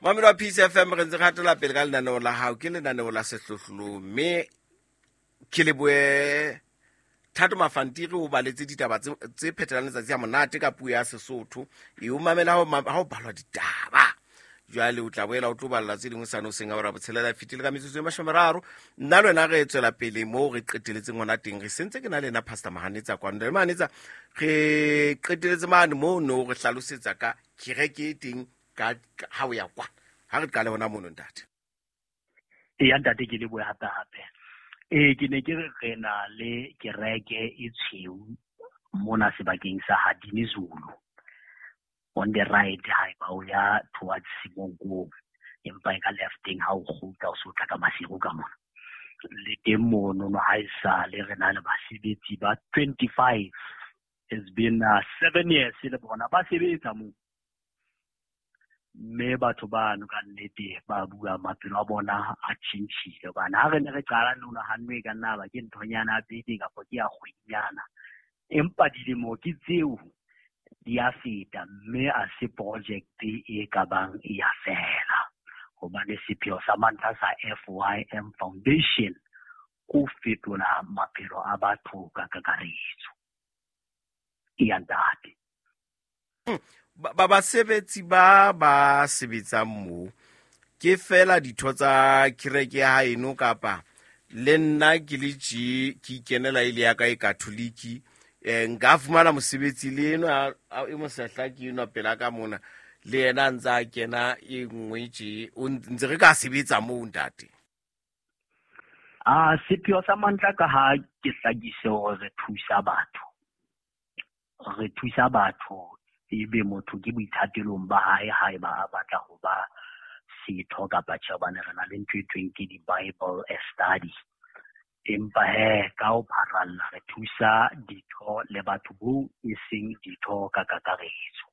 Mamelo wa Peace FM, re ntse re hatela pele ka lenaneo la hao, ke lenaneo la sehlohlolong, mme ke leboe Thato Mafantiri o baletse ditaba tse phethelang letsatsi ya monate ka puo ya Sesotho. E o mamela ha o balwa ditaba. Jwale o tla boela o tlo balla tse dingwe sane o seng a ora botshelela fetile ka metsotso e mashomeraro. Nna le wena re tswela pele moo re qeteletseng hona teng. Re sentse ke na le ena Pastor Mahanetsa kwano. Le Mahanetsa, re qeteletse mane moo no re hlalosetsa ka kereke e teng ka ha o ya kwa. Ha re qale hona mono, ntate. Eya ntate, ke lebohe hape hape. Ee, ke ne ke re re na le kereke e tshweu mona sebakeng sa Hadini Zulu on the right haeba o ya towards Semonkong, empa e ka lefteng ha o kgutla o so tla ka Maseru ka mona. Le teng mono no ha e sale re na le basebetsi ba 25. It's been 7 years le bona ba sebetsa moo. Mme batho bano ka nnete ba bua maphelo a bona a tjhentjhile, hobane ha re ne re qala no nahanne e ka nna ba ke nthonyana ya beke kapa ke ya kgwedinyana, empa dilemo ke tseo di a feta, mme a se project e ka bang e ya fela, hobane sepheo sa mantlha sa FYM Foundation ko fetola maphelo a batho ka kakaretso. Eya ntate. Ba basebetsi ba ba sebetsang moo ke fela ditho tsa kereke ya haeno, kapa le nna ke le tje ke ikenela e le ya ka e Katholiki, nka fumana mosebetsi le enwa e mosehla ke enwa pela ka mona, le yena a ntse a kena e nngwe tje, o ntse re ka sebetsa moo ntate? A sepheo sa mantla ka ha ke hlakise hore re thusa batho. Re thusa batho ebe motho ke boithatelong ba hae haeba a batla ho ba setho kapa tjhe, hobane re na le ntho e thweng ke di-Bible study. Empa he ka ho pharalla re thusa ditho le batho boo e seng ditho ka kakaretso.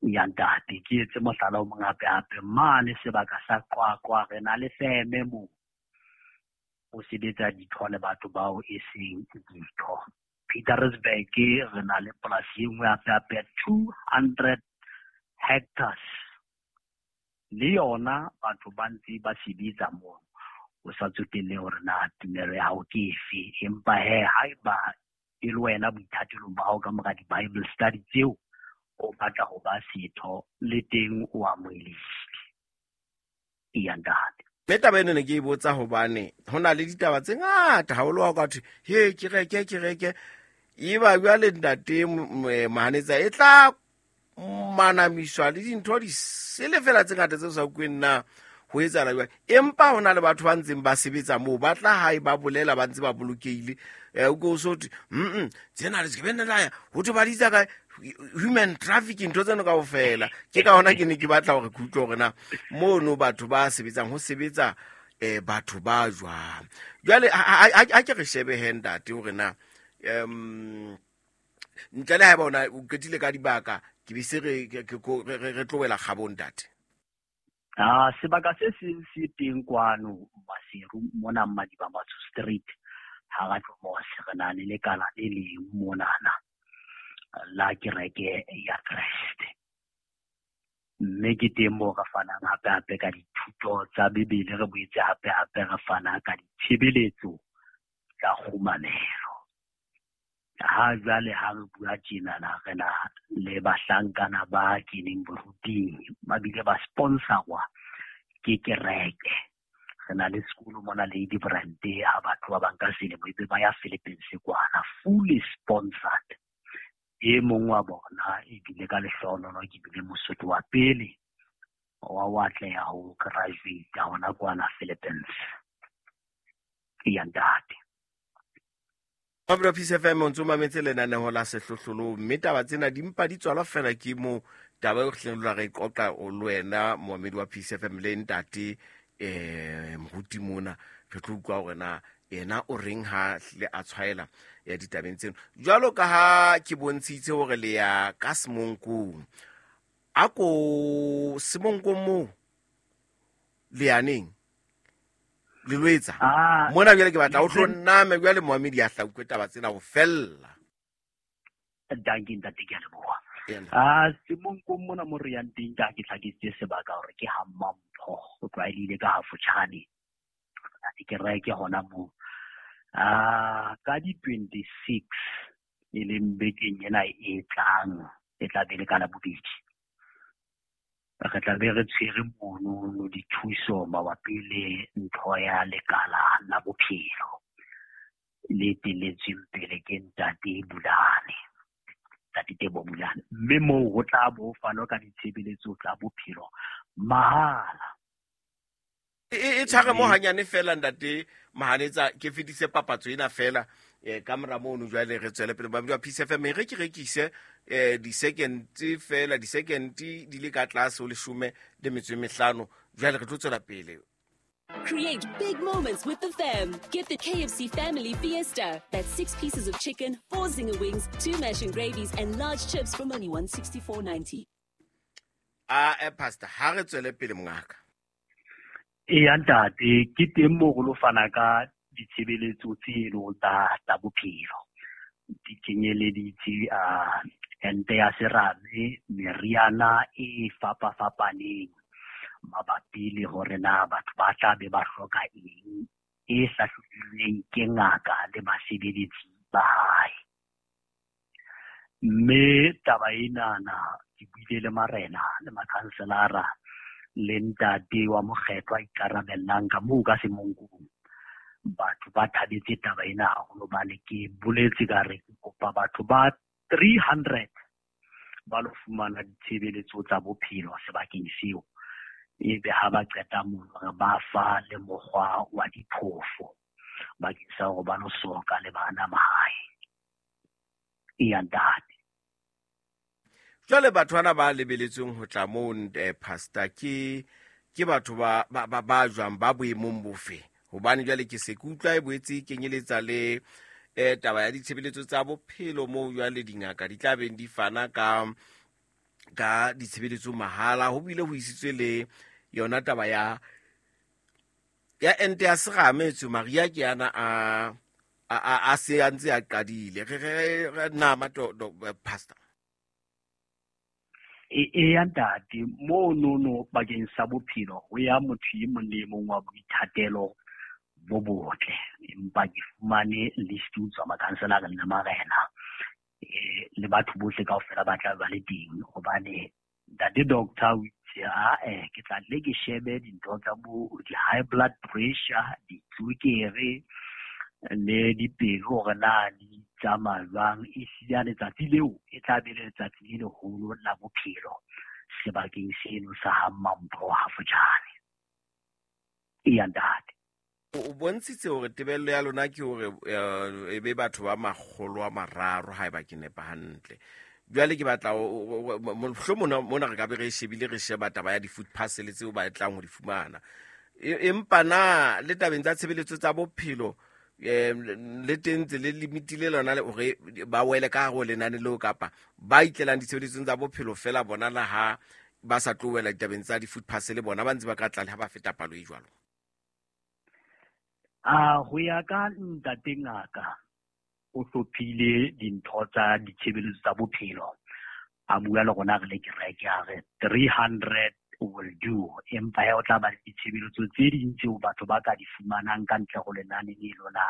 Ya ntate, ke etse mohlala o mong hape hape mane sebaka sa Qwaqwa re na le feme moo o sebetsa ditho le batho bao e seng ditho. Pietermaritzburg re na le polasi e nngwe hape hape ya 200 hectares, le yona batho ba ntse ba sebetsa moo, o sa tsotelle hore na tumelo ya hao ke efe, empa he haeba e le wena boithatelong ba hao ka mora di-Bible study tseo o batla ho ba setho, le teng o amohelehile. Eya ntate. Mme taba eno ne ke e botsa hobane ho na le ditaba tse ngata haholo ha o ka thwe he kereke kereke, e ba jwale ntate Mahanetsa e tla manamiswa le dintho di sele fela tse ngata tse sa utlweng na ho etsahala jwang, empa ho na le batho ba ntseng ba sebetsa moo ba tla hae ba bolela ba ntse ba bolokehile. O ke o so thwe, tsena le sekebe la ya ho thwe ba di itsa kae human trafficking, ntho tseno kaofela. Ke ka hona ke ne ke batla hore ke utlwe hore na mono batho ba sebetsang ho sebetsa batho ba jwang. Jwale ha ke re shebe he ntate hore na ntle le haeba ona o qetile ka dibaka, ke be se re tlohela kgabong ntate. Sebaka se seng se teng kwano Maseru mona Madiba Matsho Street ha ra Tlomose, re na le lekala le leng monana la kereke ya Kreste, mme ke teng moo re fanang hape hape ka dithuto tsa Bibele, re boetse hape hape re fana ka ditshebeletso tsa kgumamelo. Ha jwale ha re bua tjenana re na le bahlankana ba keneng boruting, ba bile ba sponsorwa ke kereke. Re na le sekolo mona Lady Brand, ha batho ba bang ka selemo ebe ba ya Philippines kwana, fully sponsored. E mong wa bona ebile ka lehlohonolo ke bile Mosotho wa pele wa ho atleha ho graduate hona kwana Philippines. Eya ntate. Pablo Peace FM o ntse o mametse lenaneo la sehlohlolong, mme taba tsena di mpa di tswalwa fela ke mo taba eo re hleng re e qoqa o le wena moamedi wa Peace FM le ntate moruti mona, re tlo utlwa hore na yena o reng ha hlile a tshwaela ya ditabeng tseno. Jwalo ka ha ke bontshitse hore le ya ka Semonkong, a ko Semonkong moo le yaneng le lo etsa mona jwale ke batla o tlo nname jwale moamedi a hlauke taba tsena ho fella. Dankie ntate, ke a leboha. A Semonkong mona mo re yang teng, ka ke tlhakisitse sebaka hore ke ha Mampho, go tlwaelehile ka Hafotjhane, kereke hona moo. A ka di 26, e leng bekeng ena e tlang, e tla be le ka Labobedi, re tla be re tshwere mono dithuso mabapi le ntho ya lekala la bophelo le eteletsweng pele ke ntate Bulane, ntate Tebo Bulane, mme moo ho tla bo fanwa ka ditshebeletso tsa bophelo mahala. E tshware mo hanyane fela, ntate Mahanetsa, ke fetise papatso ena fela ka mora mono, jwale re tswele pele. Ba Peace FM, re ke rekise di-second fela, di-second di le ka tlase ho 15, jwale re tlo tswela pele. Create big moments with the fam. Get the KFC Family Fiesta. That's 6 pieces of chicken, 4 zinger wings, 2 mash and gravies, and large chips from only 164.90. A pastor, ha re tswele pele, mongaka. Eya ntate, ke teng moo go lo fana ka ditshebeletso tseno tsa bophelo, di kenyeleditse ente ya serame, meriana e fapafapaneng mabapi le hore na batho ba tla be ba hloka eng, e hlahlobilweng ke ngaka le basebeletsi ba hae. Mme taba enana ke buile le marena le makhanselara le ntate wa mokgetho a ikarabellang ka moo ka Semonkong. Batho ba thabetse taba ena haholo, hobane ke boletse ka re ke kopa batho ba 300 ba lo fumana ditshebeletso tsa bophelo sebakeng seo, ebe ha ba qeta mono re ba fa le mokgwa wa diphofo bakeng sa hore ba lo soka le bana mahae. Eya ntate. Jwale batho bana ba lebeletsweng ho tla moo, pastor, ke batho ba jwang, ba boemong bofe? Hobane jwale ke se ke utlwa e boetse e kenyeletsa le taba ya ditshebeletso tsa bophelo, moo jwale dingaka di tla beng di fana ka ditshebeletso mahala, ho bile ho isitswe le yona taba ya ente ya serame etswe Maria ke yana a se a ntse a qadile. Re nama pastor. Eya ntate, monono bakeng sa bophelo ho ya motho e mong le e mong wa boithatelo bo botle, empa ke fumane list ho tswa makhanselareng le marena le batho bohle kaofela ba tla ba le teng, hobane ntate doctor o itse ae ke tla le ke shebe dintho tsa bo di-high blood pressure, ditswekere le dipelo hore na di tsamaya jwang. Ehlile letsatsi leo e tla be le letsatsi le leholo la bophelo sebakeng seno sa ha Mampho Hafotjhane. Eya ntate. O bontshitse hore tebello ya lona ke hore e be batho ba 300, haeba ke nepa hantle. Jwale ke batla mohlomong mona re ka be re shebile, re sheba taba ya di-food parcel tseo ba tlang ho di fumana, empa na le tabeng tsa tshebeletso tsa bophelo le teng tse le limitile lona le hore ba wele ka hare ho lenane leo, kapa ba itlelang ditshebeletsong tsa bophelo fela bona la ha ba sa tlo wela ditabeng tsa di-food parcel, bona ba ntse ba ka tla le ha ba feta palo e jwalo? A ho ya ka ntate ngaka, o hlophile dintho tsa ditshebeletso tsa bophelo, a bua le rona re le kereke, a re 300 will do, empa he o tla ba le ditshebeletso tse ding tseo batho ba ka di fumanang ka ntle ho lenane le lona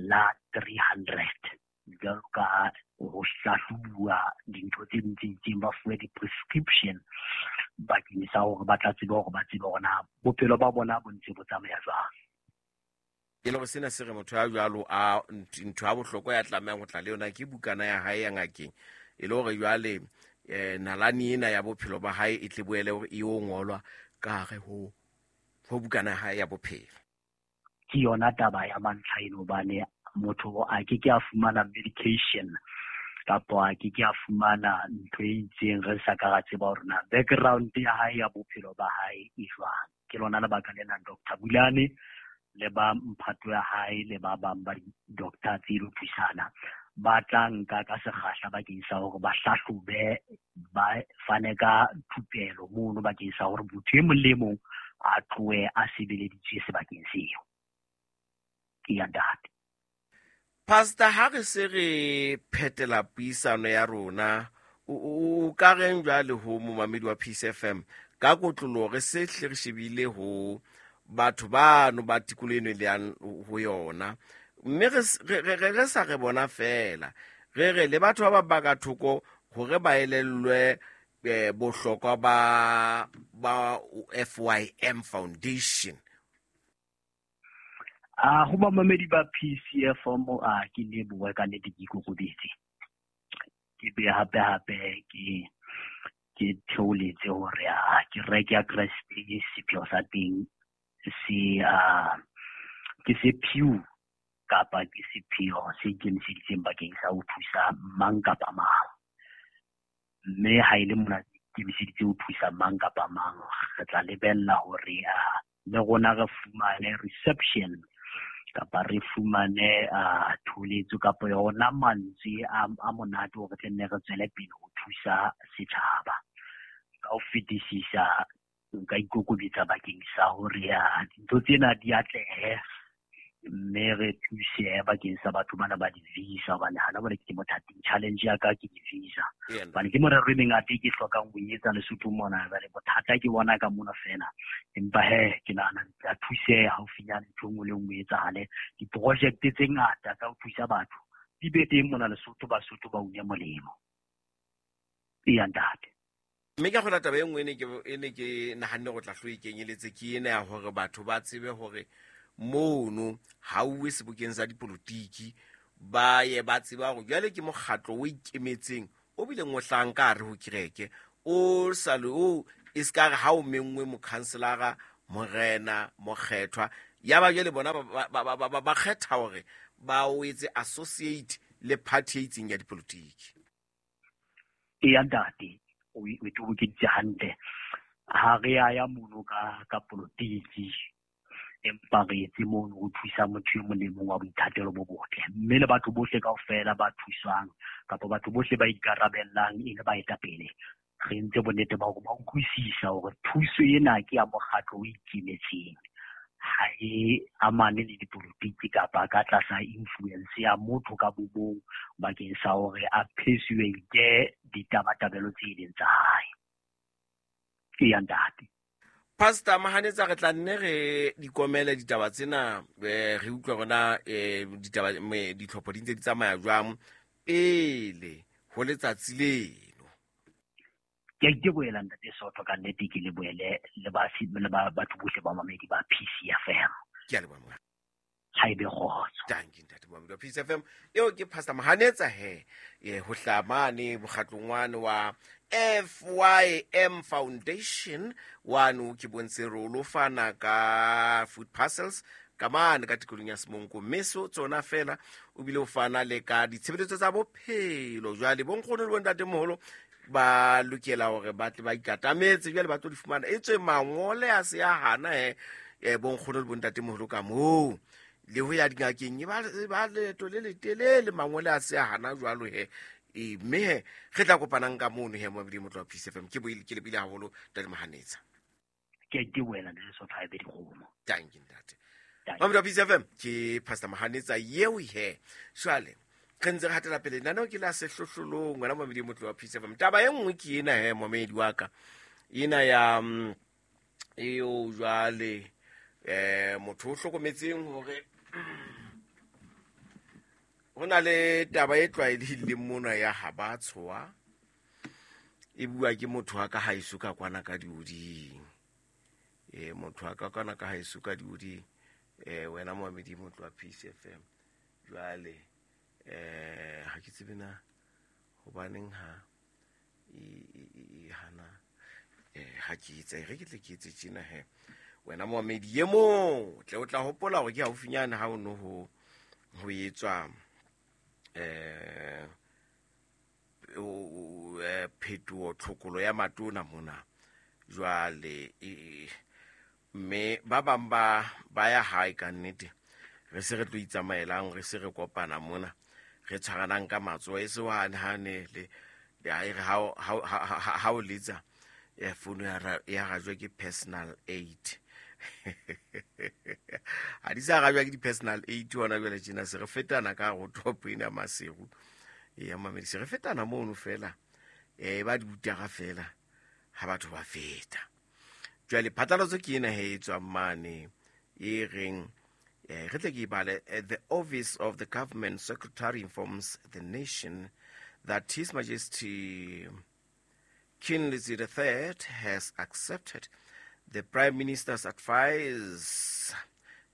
la 300, jwalo ka ho hlahlobuwa dintho tse ding tse itseng, ba fuwe di-prescription bakeng sa hore ba tla tsebe hore ba tsebe hore na bophelo ba bona bo ntse bo tsamaya jwang. E le hore sena se re motho ya jwalo a ntho ya bohlokwa ya tlamehang ho tla le yona ke bukana ya hae ya ngakeng, e le hore jwale nalane ena ya bophelo ba hae e tle boele hore e yo ngolwa ka hare ho bukana ya hae ya bophelo. Ke yona taba ya mantlha eno, hobane motho a ke ke a fumana medication kapa a ke ke a fumana ntho e itseng re sa ka ra tseba hore na background ya hae ya bophelo ba hae e jwang. Ke lona lebaka lena Dr. Bulane le ba mphato ya hae le ba bang ba di-doctor tse lo thusana ba tla nka ka sekgahla bakeng sa hore ba hlahlobe, ba fane ka thupelo mono bakeng sa hore motho e mong le mong a tlohe a sebeleditswe sebakeng seo. Ke ya ntate. Pastor, ha re se re phetela puisano ya rona, O ka reng jwale ho momamedi wa Peace FM ka kotloloho re se hle re shebile ho batho bano ba tikoloho eno e le yang ho yona, mme re sa re bona fela, re re le batho ba bang ba ka thoko hore ba elellwe bohlokwa ba FYM Foundation. A ho bamamedi ba PCFM, a ke lebohe ka nnete, ke ikokobetse, ke be hape hape ke theoletse hore a kereke ya Kreste sepheo sa teng se a ke sepheo kapa ke sepheo se ikemiseditseng bakeng sa ho thusa mang kapa mang. Mme ha e le mona ikemiseditse ho thusa mang kapa mang, re tla lebella hore le rona re fumane reception kapa re fumane tholetso kapa yona mantswe a monate hore tle nne re tswele pele ho thusa setjhaba. Ka ho fetisisa nka ikokobetsa bakeng sa hore dintho tsena di atlehe, mme re thuse bakeng sa batho bana ba di-visa, hobane hana bone ke mothating. Challenge ya ka ke di-visa, hobane ke morero e mengata e ke hlokang ho etsa Lesotho mona. Jwale bothata ke bona ka mona fela, empa he ke nahana ke tla thuseha haufinyane, ntho e nngwe le nngwe e etsahale. Diprojekte tse ngata tsa ho thusa batho di be teng mona Lesotho, Basotho ba une molemo. Eya ntate. Mme ka kgona taba e nngwe e ne ke nahanne go tla hlo e kenyeletse ke ena ya hore batho ba tsebe hore mono ha uwe sebokeng sa dipolotiki, ba ye ba tseba hore jwale ke mokgatlo o ikemetseng o bileng o hlahang ka hare ho kereke, o sa le o e se ka re ha o menngwe mokhanselara, morena, mokgethwa, ya ba jwale bona ba kgetha hore ba o etse associate le party e itseng ya dipolotiki. Eya ntate, o tobokeditse hantle. Ha re a ya mono ka polotiki, empa re etse mono ho thusa motho e mong le mong wa boithatelo bo botle. Mme le batho bohle kaofela ba thuswang kapa batho bohle ba ikarabellang e le baetapele, re entse bonnete ba hore ba utlwisisa hore thuso ena ke ya mokgatlo o ikemetseng, ha e amane le dipolotiki kapa ka tlasa influence ya motho ka bo mong bakeng sa hore a persuade ditabatabelo tse leng tsa hae. Eya ntate. Pastor Mahanetsa, re tla nne re dikomele ditaba tsena, re utlwe rona ditaba, ditlhopho di ntse di tsamaya jwang pele ho letsatsi leno. Ke a itebohela ntate Sotho, ka nnete ke lebohele le batho bohle ba mamedi ba PCFM. Ke a leboha. Ha ebe kgotso. Dankie ntate Mohamedi wa PCFM. Eo ke Pastor Mahanetsa he, ho hlaha mane mokgatlong wane wa FYM Foundation, wano ke bontshe re o lo fana ka food parcels ka mane ka tikolong ya Semonko, mme so tsona fela o bile o fana le ka ditshebeletso tsa bophelo. Jwale bonkgono le bontatemoholo ba lokela hore ba tle ba ikatametse, jwale ba tlo di fumana. E tswe mangole a se a hana he, bonkgono le bontatemoholo ka moo le ho ya dingakeng e ba leeto le letelele, mangole a se a hana jwalo he. Mme he re tla kopanang ka mono he mo Modimo tloha Peace FM. Ke boile ke lebile haholo ntate Mahanetsa. Ke ke wena le so thabe dikgomo. Thank you ntate. Mamodi Peace FM ke Pastor Mahanetsa yeo he. Jwale re ntse re hatela pele nano ke la sehlohlolong wena Mamodi Motlo wa Peace FM. Taba e nngwe ke ena he momedi wa ka. Ena ya eo jwale motho o hlokometseng hore ho na le taba e tlwaelehileng mona ya ha ba tshoha e bua ke motho wa ka haeso ka kwana ka dioding. Motho wa ka kwana ka haeso ka dioding, wena Mohamedi motho wa Peace FM. Jwale ha ke tsebe na hobaneng ha e hana, ha ke etse re ke tle ke etse tjena he. Wena Mohamedi e motle, o tla hopola hore ke haufinyane ha o no ho etswa phetoho tlhokolo ya matona mona. Jwale mme ba bang ba ya hae ka nnete, re se re tlo itsamaelang, re se re kopana mona, re tshwaranang ka matsoho, e se hane hane le ha e re ha o letsa founu ya rajwa ke personal aid. Ha di sa rajwa ke di-personal aid hona jwale tjena, se re fetana ka ho top ena ya Maseru. Ya mamedi, se re fetana mono fela. Ba di butega fela ha batho ba feta. Jwale phatlalatso ke ena he e tswang mane e reng, re tle ke e bale. The office of the government secretary informs the nation that His Majesty King Letsie the III has accepted the Prime Minister's advice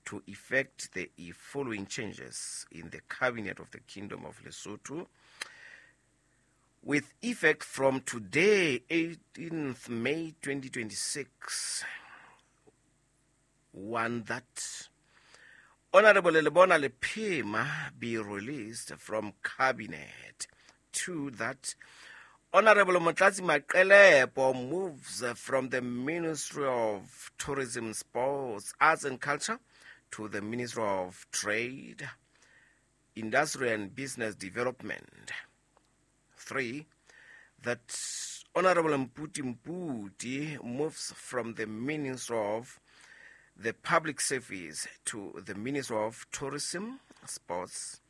to effect the following changes in the cabinet of the Kingdom of Lesotho with effect from today, 18th May 2026. One, that Honorable Lebona Lephema be released from cabinet. Two, that Honorable Motlatsi Maqelepo moves from the Ministry of Tourism, Sports, Arts and Culture to the Ministry of Trade, Industry and Business Development. Three, that Honorable Mphuti Mphuti moves from the Ministry of the Public Service to the Ministry of Tourism, Sports,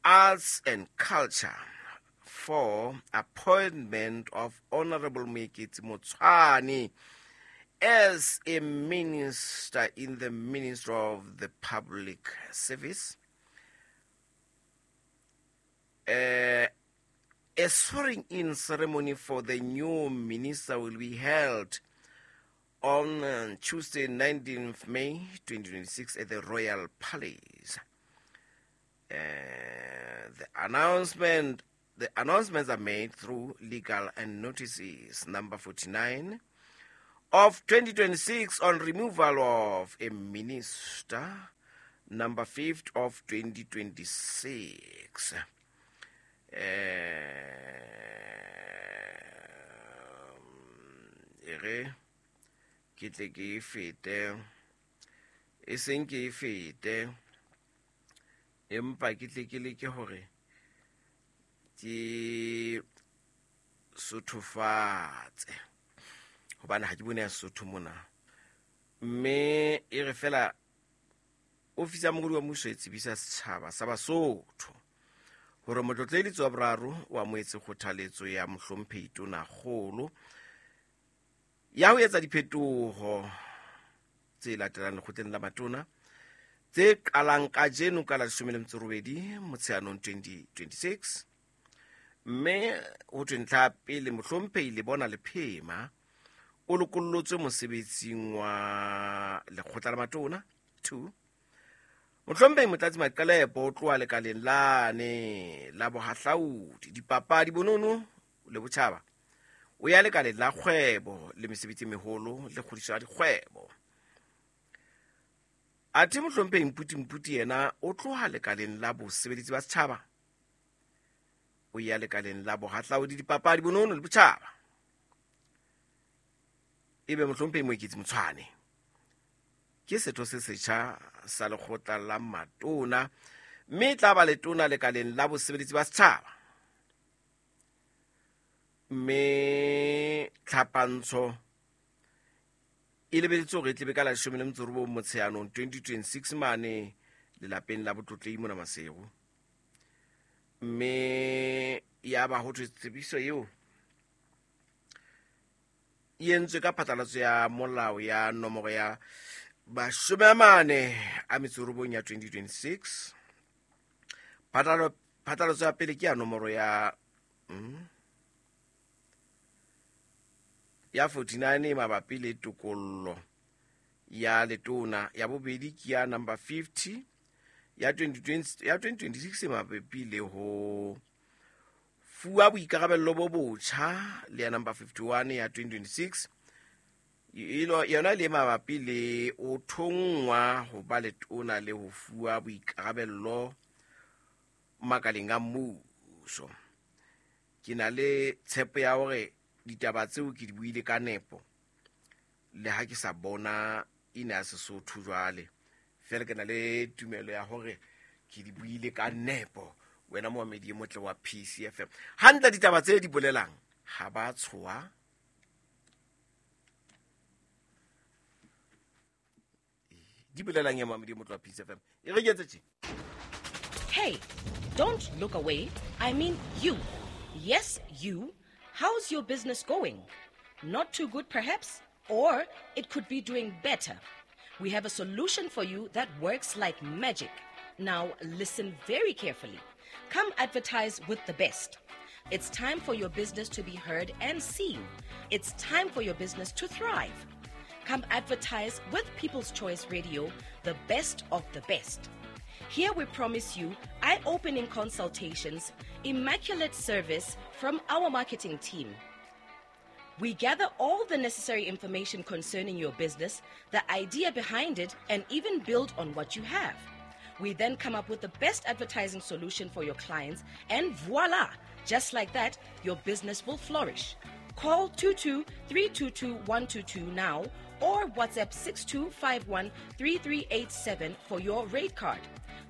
Arts and Culture. Four, appointment of Honorable Moeketsi Motshwane as a minister in the Ministry of the Public Service. A swearing-in ceremony for the new minister will be held on Tuesday, 19th May 2026 at the Royal Palace. The announcements are made through legal and notices number 49 of 2026 on removal of a minister, number 5 of 2026. Ere ke tle ke e fete, e seng ke e fete, empa ke tle ke leke hore ke sothofatse, hobane ha ke bone ya Sesotho mona. Mme e re fela ofisi ya mongodi wa mmuso e tsebisa setjhaba sa Basotho hore motlotleletsi wa boraro o amohetse kgothaletso ya mohlomphehi Tonakgolo ya ho etsa diphetoho tse latelang lekgotleng la matona tse qalang kajeno ka la 18 Motsheanong 2026. Mme ho thwe ntlha ya pele, mohlomphehi Lebona Lephema o lokollotswe mosebetsing wa lekgotla la matona. 2, mohlomphehi Motlatsi Maqelepo o tloha lekaleng lane la bohahlaudi, dipapadi, bonono le botjhaba, o ya lekaleng la kgwebo le mesebetsi e meholo le kgodiso ya dikgwebo. Athe mohlomphehi Mphuti Mphuti yena o tloha lekaleng la bosebeletsi ba setjhaba, o ya lekaleng la bohahlaudi, dipapadi, bonono le botjhaba. Ebe mohlomphehi Moeketsi Motshwane ke setho se setjha sa lekgotla la matona, mme e tla ba letona lekaleng la bosebeletsi ba setjhaba. Mme tlhapantsho e lebeletswe hore e tlebe ka la 19 Motsheanong 2026 mane lelapeng la botlotlehi mona Maseru. Mme ya ba ho thwe tsebiso eo e entswe ka phatlalatso ya molao ya nomoro ya 49 ya 2026. Phatlalatso ya pele ke ya nomoro ya ya 49 mabapi le tokollo ya letona, ya bobedi ke ya number 50 ya 2020 ya 2026 mabapi le ho fuwa boikarabello bo botjha, le ya number 51 ya 2026 yona le mabapi le o thonngwa ho ba letona le ho fuwa boikarabello makaleng a mmuso. Ke na le tshepo ya hore ditaba tseo ke di buile ka nepo, le ha ke sa bona ina ya Sesotho jwale, fela ke na le tumelo ya hore ke di buile ka nepo. Wena moamedi e motle wa PCFM, hantle ditaba tse di bolelang ha ba tshoha. Di bolelang ya moamedi e motle wa PCFM, e re ke etse tje. Hey, don't look away. I mean you. Yes, you. How's your business going? Not too good, perhaps? Or it could be doing better. We have a solution for you that works like magic. Now, listen very carefully. Come advertise with the best. It's time for your business to be heard and seen. It's time for your business to thrive. Come advertise with People's Choice Radio, the best of the best. Here we promise you eye opening consultations, immaculate service from our marketing team. We gather all the necessary information concerning your business, the idea behind it, and even build on what you have. We then come up with the best advertising solution for your clients, and voila! Just like that, your business will flourish. Call 22 322 122 now or WhatsApp 6251 3387 for your rate card.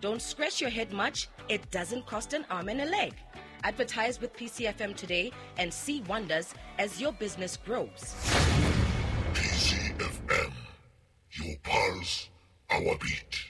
Don't scratch your head much, it doesn't cost an arm and a leg. Advertise with PCFM today and see wonders as your business grows. PCFM, your pulse, our beat.